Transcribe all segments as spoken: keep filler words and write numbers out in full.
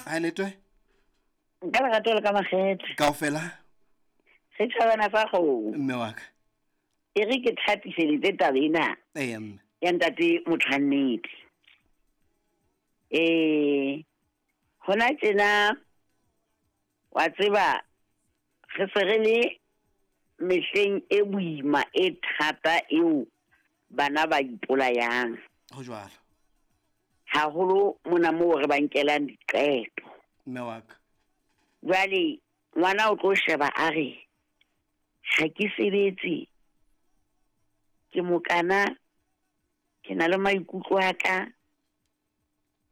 Ha letwe? Nka lerato le ka makgethe. Kaofela? Setjhabana sa kgomo. Mme wa ka. E re ke thatiseletse taba ena. Eya mme. Ya ntate motho wa nnete. Eh, hona tjena wa tseba re se re le mehleng e boima e thata eo bana ba ipolayang. Ho jwalo. Haholo mona moo re ba nkelang diqeto. Mme wa ka. Jwale ngwana o tlo sheba a re ha ke sebetse, ke mokana, ke na le maikutlo a ka.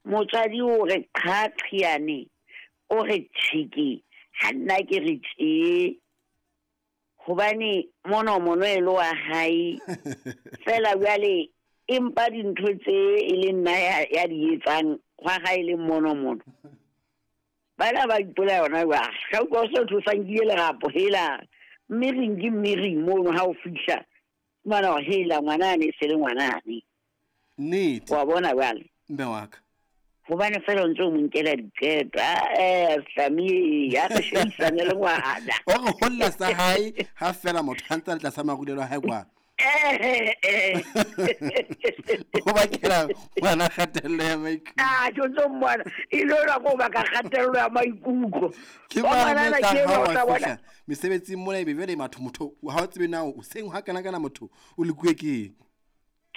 Motswadi o re qhaqhiane, o re tjheke, ha nna ke re tjhe. Hobane mono mono e le wa hae. Feela jwale empa dintho tse e leng nna ya, ya di etsang hwa hae le mono mono. Bana ba ipolaya yona jwang. Ka utlwa o se o tlosa nkile lerapo hela. Mme reng ke mme reng mono ha o fihla. Ngwana wa hela ngwanane e se le ngwanane. Nnete. Wa bona jwale. Mme wa ka. Hobane feela o ntse o mo nkela diqeto. Ah, eh, Slami, ya re shebisane le ngwana. O re holla sa hae ha feela motho a ntse a le tlasa marulelo a hae kwa. Eh, eh. O bakela ngwana kgatello ya maikutlo. Ah, ke ntse o mmona. E le yona ko baka kgatello ya maikutlo. Ke Wa ba ngwanana metla ke ha enwa o wa tla bona. fihla mesebetsing mona ebe jwale matho motho ha o tsebe na o seng ha kana kana motho o lekuwe ke eng.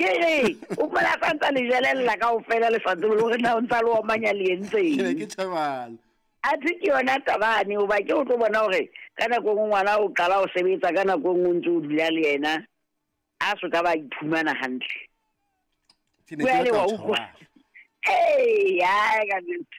Ke re, o phela sa ntsa le jelella kaofela le sa tsebe le hore na o ntsa le omanya le entseng. Ke ne ke tjhabala. Athe ke yona tabane, hoba ke o tlo bona hore ka nako e nngwe ngwana o qala ho sebetsa, ka nako e nngwe o ntse o dula le yena, a so ka ba iphumana hantle. Ke ne ke Jwale batla wa ho utlwa. tjhabala. Ee, ai, ka nnete.